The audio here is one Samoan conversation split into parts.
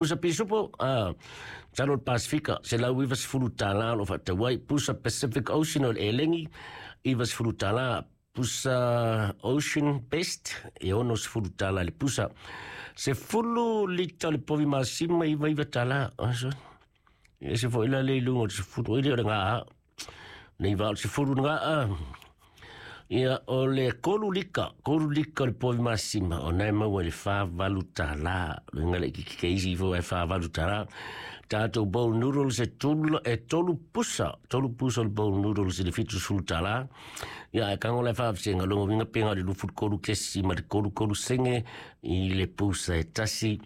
Pusa pisupo, masalo o le Pasefika, $190 o lo o faatau ai. Pusa Pacific Ocean o le elegi, $90. Pusa Ocean Best, e $60 i le pusa. 10 lita o le povi masima, $99. E ese foi la le i luga o le 10, oi le o le gaa. Nei va o le 10 le gaa. Ia, o le 3 lika, 3 lika o le povi masima, o na e maua i le $48. Luga le ikiki ke isi ifo e $48. Tatou bowl noodles e tulu, e tolu pusa, tolu pusa o le bowl noodles i le $70. Ia, e kango le whaafsenga, longo winga penga o le 23 kesi ma le 33 senge i le pusa e tasi.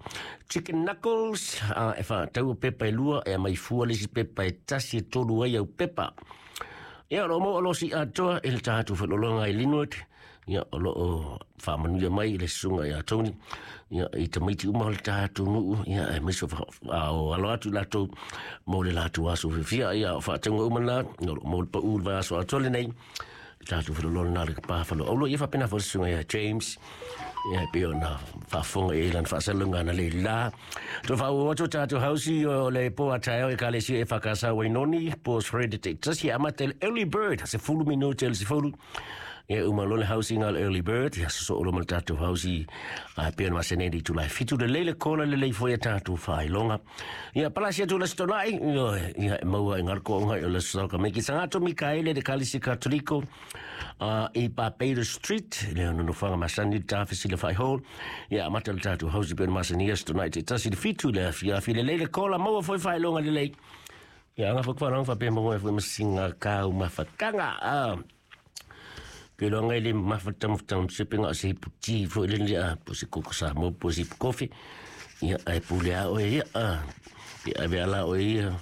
Chicken knuckles, e whaatau pepa e lua, e mai fua le isi pepa e tasi e tolu ai au pepa. Ia, o lo o maua oloa atoa i le tatou faalologa i Linwood. Ia, o lo o faamanuia mai i le susuga ia Tony. Ia, i tamaiti uma o le tatou nuu. Ia, aemaise o, o alo atu i latou mo le latou aso fiafia. Ia, o faatauga uma na, ia, o lo o maua le pau i le vaiaso atoa lenei. Le tatou faalologa na le pa faloaulo. Ia, faapena foi le susuga ia James. Ia, e pei ona faafofoga i ai lana faasalalauga analeila. Toe faaauau atu o tatou hausi o le po a taeao Ekalesia EFKS Wainoni, po Shred Tasi e amata i le early bird, 10 minute i le 10. Ia uma loa le hausi nga le early bird, ia sosoo loa ma le tatou hausi a pei ona masani ai i le itula e 7 lelei le kola lelei foi a tatou faailoga. Ia palasi atu le Aso Toonai, ia e maua i Ngarkoonga i o le Aso Saoka Meki Sangato Mikaele le Kalisi Katoliko i Barbados Street, le nonofoaga masani le tafesi le whai hall. Ia amata le tatou hausi pei ona masani Aso Toonai te tasi le 7 le afiafi lelei le kola maua foi faailoga lelei. Ia anga foi kwa fa pe maua foi masinga kau mafakanga. Ke loa ngai le mafa tamu se penga o se hipu ti foi le le a po se koko sa mo po se hipu kofi. Ia ai pule a oe ia a. Pe ave ala oe ia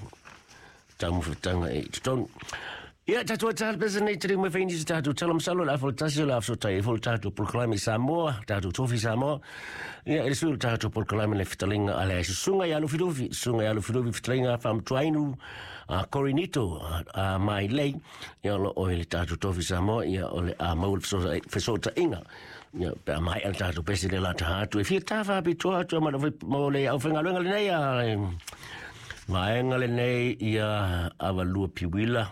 taumafataga e i totonu. Ia, tatou ae pesa nei tali mai whaini se tatou tala masalo le afo tasi o le afo tai e fo le tatou polokalame i Samoa, tatou tofi Samoa. Ia, e le sui o le tatou polokalame le fitalinga a le susunga i Alufilufi, susunga i Alufilufi fitalinga whamtuainu a Korinito a mai lei. Ia, o lo o i le tatou tofi Samoa, ia, o le a mau le fesootaiga. Ia, pe a mai le tatou pese le la taha atu. E fia tawha pitoa atu a mo le au whengaluenga lenei a vaega lenei ia avalua piwila.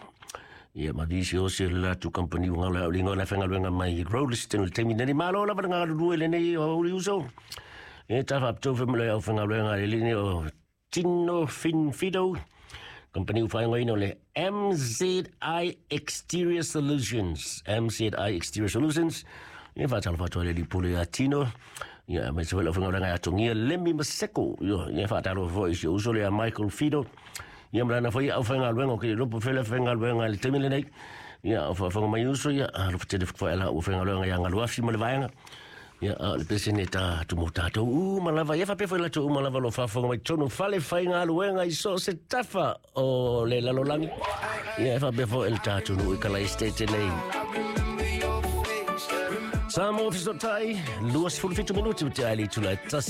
Ia ma visi o se la tu company unga le au linga le whengaluenga mai Rolleston le taimi nei malo lava le ngalulue lenei o uri uso. E tawha pito whe le au whengaluenga le lini o Tino Finfido. Company whaingoina o le MZI Exterior Solutions. MZI Exterior Solutions. Ia whaatalo whaatoa le lipule a Tino. Ia me se wela whangauranga ia tongia Lemmy Maseko. Ia whaatalo foi si uso le a Michael Fido. Ia mlana foi au whangaluenga o ke lopo fele whangaluenga le taimi lenei. Ia au whaafanga mai uso ia a lopo tele whakawai ala au whangaluenga ia ngaluafi ma le vaenga. Ia a le pese ne ta tumo tātou uma lava. Ia whape foi latou uma lava lo whaafonga mai tonu fale whaingaluenga i so se tafa o le lalolangi. Ia e whape foi le tātou nu i kala estate nei. Samoa Fisotai, 27 minuti o te aile i tula e tasi.